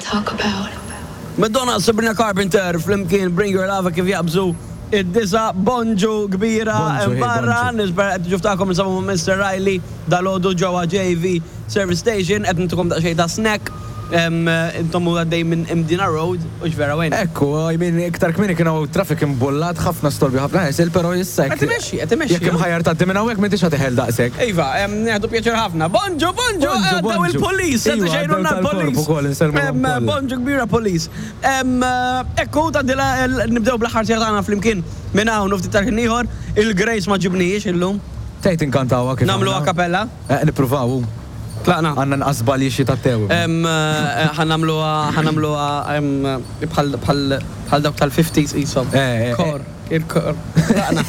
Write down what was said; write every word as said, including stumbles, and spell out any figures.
Talk about. Madonna, Sabrina Carpenter, flimkien Bring Your Love, kif jaqbżu id-disgħa. Bonġu kbira. Bonġu, hey, barra, bonġu. Nispera qed ġuftakom nsabu ma' Mister Riley dalgħodu ġewwa J V Service Station, qed ntukom daqsxejn ta' snack. Em, Intom u għaddej minn Imdina Road, u vera wejn. Ekku, I mean, iktar kmieni kien hawn traffic imbullat, ħafna storbi, ħafna ħesil, pero issa Qed imexxi, qed imexxi. Jekk imħajjar tgħaddi minn hawnhekk, m'intix ħa teħel daqshekk. Iva, em, nieħdu pjaċir ħafna. Bonġu, bonġu, Bonġu, għaddew bonġu. il-polis, qed Iva, ixejrulna għaddew tal-korp l-polis. ukoll, insellmuhom Em, kollha. Bonġu kbira, polis. Em, Ekku, tgħaddila, nibdew bl-aħħar siegħa tagħna flimkien minn hawn u ftit tal-ħin ieħor, il-Grace ma ġibnijiex illum. Tgħid inkantawha kif Nagħmlu aħna? a cappella. Eh, nippruvaw. Tlaqna. Għandna nqas żbalji xi tat-tew. Em, eh, ħa nagħmluha ħa nagħmluha em, bħal bħal bħal dawk tal-fifties qishom. Eh, eh, Kor, il-kor. Tlaqna.